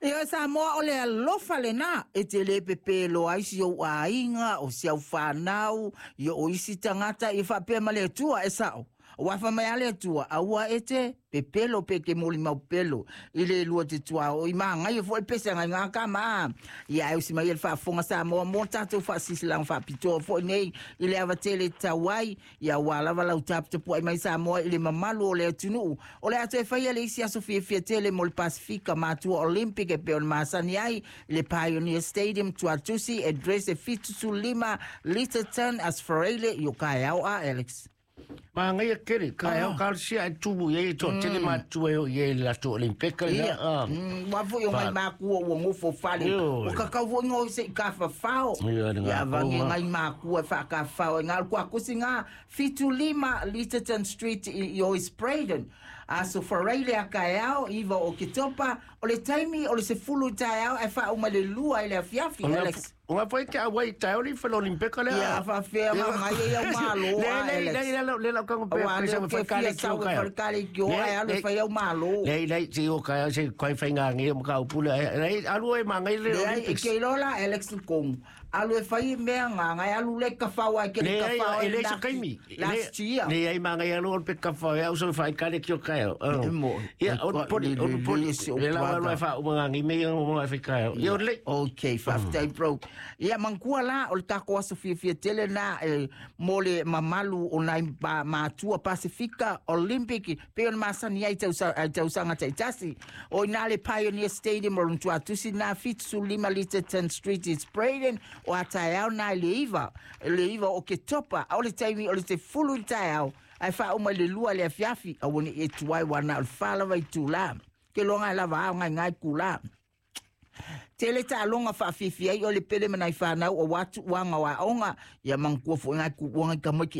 Ia Samoa o le alofa lena e te le pepelo ai si ou aiga o si au whanau ia o isi tagata ia faapea ma le Atua e sao. Ua fa mai a le Atua aua e te pepelo pe te molimau pelo i le lua te tuaoi magaia foi pese ngai ngā ka ma. Ia ai usi mai e le faafofoga Samoa mo tatou faasilasilaga faapitoa foi nei i le ava tele tau ai ia ua lava lau taputapuai mai Samoa i le mamalu o le atunuu. O le a toe faia le isi aso fiafia tele mo le Pasifika Matua Olympic e pei ona masani ai i le Pioneer Stadium Tuatusi, address e 75 Lyttelton, Asfareile i o kaeao a Alex. Magaia tele, kaeao kalasia e tumu i ai e toatele matutua e oo i ai i le latou Olympic lena. Ia, ua foi o ngai makua ua nofo fale. Ioe. Ua kakau foi ngoi se i kafafao. Ia, le Ia, ngā vangi kōga. ngai makua e whaakafao. E ngā kua kusi ngā 75 Lyttelton Street i o East Braden. Aso Faraile a kaeao, 9 o Oketopa, o le taimi o le 10 i taeao e whaauma le 2 i le afiafi, Alex. O ngā whai te awai taeo ni whai Olympika lea. Ia, whawhea ngā ngai e au malo, Le, a le, Alex. le, le, le, le, lau kango pea, Aua pesa leo ma ke whai fia kale ki sau o e kaeo. whai kale ki o, ai alu e whai au malo. Le, le, se o kaeo, se kai whai ngā ngi o maka upule, ai, alu e mā ngai le Le ai, e Olympics. ke iloa la Alex Kong. Alu e whai mea ngā ngai, alu le ka whau ai, ke le Le, ka ai, whau e ai le sa kaimi. last year. Le, ai mā ngai alu o pe ka whau, au so whai kale ki o kaeo. E mo, Ia, e o kwa- poli, le- o le- poli, le se o le lau alu brother. e wha uma ngā ngi me o ngā whai kaeo. Ia, o le, Ok, faafetai bro. Ia manatua la o le tatou aso fiafia tele na e mo le mamalu o nai matua Pasifika Olympic pe ona masani ai ai tausaga taitasi. O ina le Pioneer Stadium o lona tuatusi na 75 Lyttelton Street East Braden o a taeao na i le 9, le 9 o Oketopa, a o le taimi o le 10 i le taeao ai faauma i le 2 le afiafi aua ne i e tuai ua na o le 4 lava i tula. Ke loga e lava ao ngai ngai kula. Tele taaloga faafifia ai o le pele ma nai whanau o watu wanga wa onga ia manatua foi ngai ku wanga ka moki.